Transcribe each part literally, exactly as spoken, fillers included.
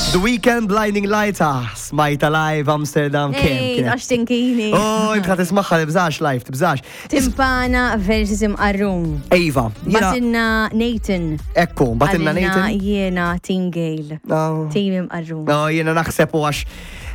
The Weeknd, Blinding Lights, ah, smajta live Amsterdam, kem Ej, kienet. għax tinkini. Oh, inta tismaħħa tibżax live, tibżax. Timpana versus Imqarrun. Ejva, jiena, Batinna Nathan. Ekku, batinna Għalina Nathan. Jiena Team Gale. No. Team Imqarrun. No, jiena naħseb u għax.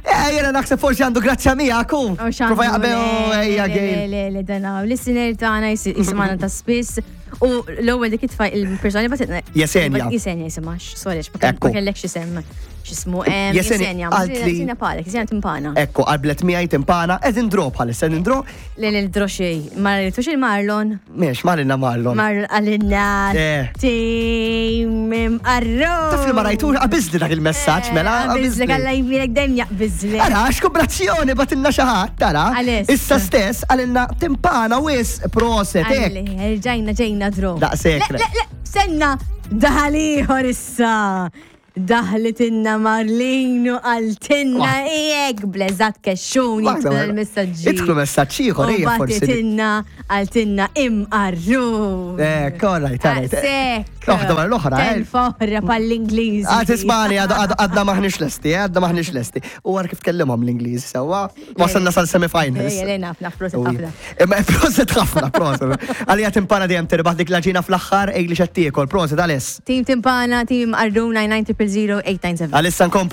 Eh, jiena naħseb forsi għandu grazzja miegħek u. Oh, xandu, Prova jaqbel, le, ejja le, Gale. Le, le, le, dana. Listener tagħna jis- jisimgħana ta' spiss. U l-ewwel dik itfa' il-persona li batitna. Jesenja. Jesenja jisimha, sorry, ma Ekku. kellekx isem. X'ismu? Em, Jesenja, Jesenja. għalt li- Jesenja palek, Jesenja timpana. Ekku, qablet miegħi timpana, qegħdin draw bħalissa, qegħdin draw. Le, le, droxej. Ma rritux il-Marlon. Miex, marinna Marlon. Marlon għalinna. Eh. Team Imqarrun. Taf li ma rajtux, qabiżli dak il-messaġġ, mela. Qabiżlek, qabiżli. Alla jbirek dejjem jaqbiżlek. Ara, x'kobrazzjoni batinna xi ħadd, tara. Għalis. Issa stess għalinna timpana wis proset hekk. Għalli, Rġajna ġejna draw. Daqshekk. Le, le, le, senna, daħal ieħor issa. Daħlitinna Marlino għaltinna ijek bleżat kexxuni Waħda, jidħlu waħda. l-messaġġi. Idħlu messaġġ ieħor, U ejja, forsi. batitinna għaltinna Imqarrun. Eh, all right, all right. Daqshekk. Waħda wara l-oħra, eh. Telfa oħra pal-Ingliżi. Ah, tismani, għadna maħniex lesti, eh, għadna maħniex lesti. U għar kif tkellimhom l-Ingliż, sewwa, wasalna sal-semifinals. Ejja, le, naf, naf, proset U- ħafna. Imma proset ħafna, proset. Għalija timpana dejjem tirbaħ dik l-ġina fl-aħħar, ej li xattiekol, proset, għalis. Team Timpana, Team Imqarrun, nine nine zero zero eight nine seven. Għalissa nkomplu.